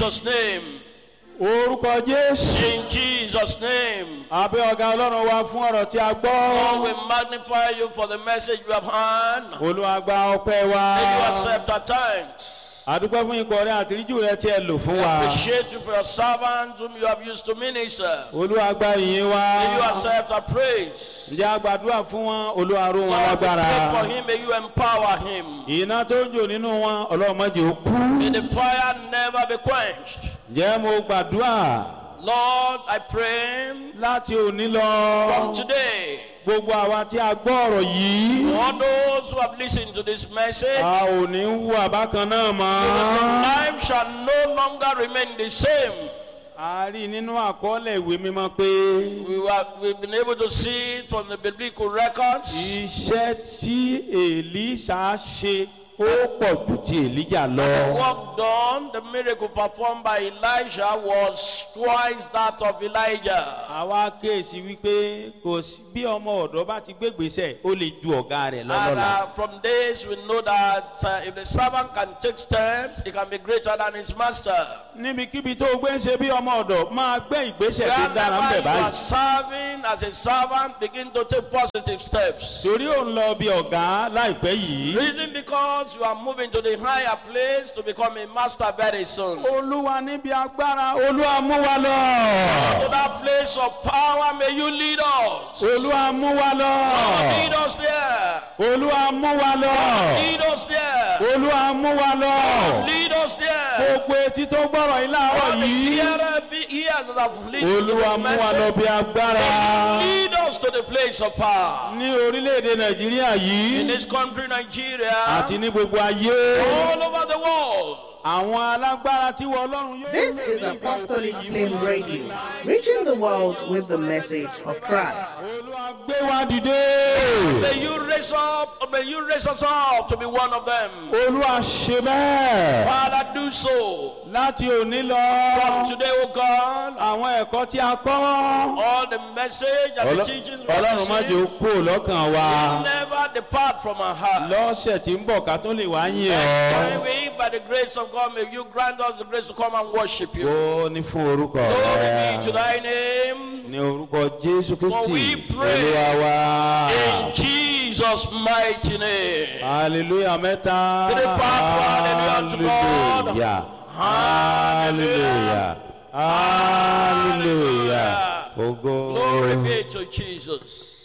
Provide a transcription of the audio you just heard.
Jesus' name. Orúkọ Jésù. In Jesus' name. A gbé ọ̀gá Ọlọ́run wa fún ọ̀rọ̀ tí a gbọ́. Lord, we magnify you for the message you have heard. Olúwa gba ọpẹ́ wa. May you accept our thanks. A dúpẹ́ fún ikọ̀ rẹ àtìríjù rẹ tí ẹ lò fún wa. Appreciate you for your servants whom you have used to minister. Olúwa gba ìyìn wa. May you accept our praise. Ǹjẹ́ a gbàdúrà fún wọn Olúwa ró wọn Lord, we lágbára. pray for him. May you empower him. Iná tó ń jò nínú wọn Ọlọ́run má jẹ́ ó kú. May the fire never be quenched. Ǹjẹ́ mo gbàdúrà Lord, I pray láti òní lọ. from today, Gbogbo àwa tí a gbọ́ ọ̀rọ̀ yìí. all those who have listened to this message, A ò ní hùwà bákan náà mọ́. life shall no longer remain the same. A rí nínú àkọọ́lẹ̀ ìwé mímọ́ pé We've been able to see it from the biblical records. iṣẹ́ tí Èlíṣà ṣe ó pọ̀ ju ti Èlíjà lọ. The work done, the miracle performed by Elijah was twice that of Elijah. Àwa kíyèsí wípé kò sí bí ọmọ ọ̀dọ́ bá ti gbégbèsè ó lè ju ọ̀gá rẹ̀ And lọ́lọ́la. from this, we know that if the servant can take steps, he can be greater than his master. Níbikíbi tó o gbé ń ṣe bí ọmọ ọ̀dọ̀ máa gbé ìgbésẹ̀ tó dára ń Wherever bẹ̀ you are báyìí. serving as a servant, begin to take positive steps. Torí ò ń lọ bí ọ̀gá láìpẹ́ yìí. Reason because you are moving to the higher place to become a master very soon. Olúwa níbi agbára Olúwa mú wa lọ. To that place of power, may you lead us. Olúwa mú wa lọ. Lead us there. Olúwa mú wa lọ. Lead us there. Olúwa mú wa lọ. Lead us there. Gbogbo etí tó gbọ́rọ̀ yìí láàárọ̀ All the yìí. hearer be ears that have listened to Olúwa the mú wa lọ message. bí agbára. Lead us to the place of power. Ní orílẹ̀-èdè Nàìjíríà In yìí this country, Nigeria, àti ní gbogbo ayé. all over the world. Àwọn alágbára tí wọ́n Ọlọ́run yóò. This is Apostolic Flame Radio, reaching the world with the message of Christ. Olúwa gbé wa dìde. May you raise us up to be one of them. Olúwa ṣe bẹ́ẹ̀. Father, do so. Láti òní lọ. From today, O God, Àwọn ẹ̀kọ́ tí a kọ́. all the message and the teachings we have Ọlọ́run má jẹ́ ó received kúrò lọ́kàn wa. never depart from our heart. Lọ́sẹ̀ tí ń bọ̀ ká tó lè wá yìn Next ọ́. time we, by the grace of God, may you grant us the grace to come and worship you. Ó ní fún orúkọ Glory be to rẹ̀. thy name. Ní orúkọ Jésù For Kristi we pray Olúwa wa. in Jesus' mighty name. Hallelujah mẹ́ta. Three part, hallelujah to God. Hallelujah. Hallelujah. Hallelujah. Ògo. Glory be to Jesus.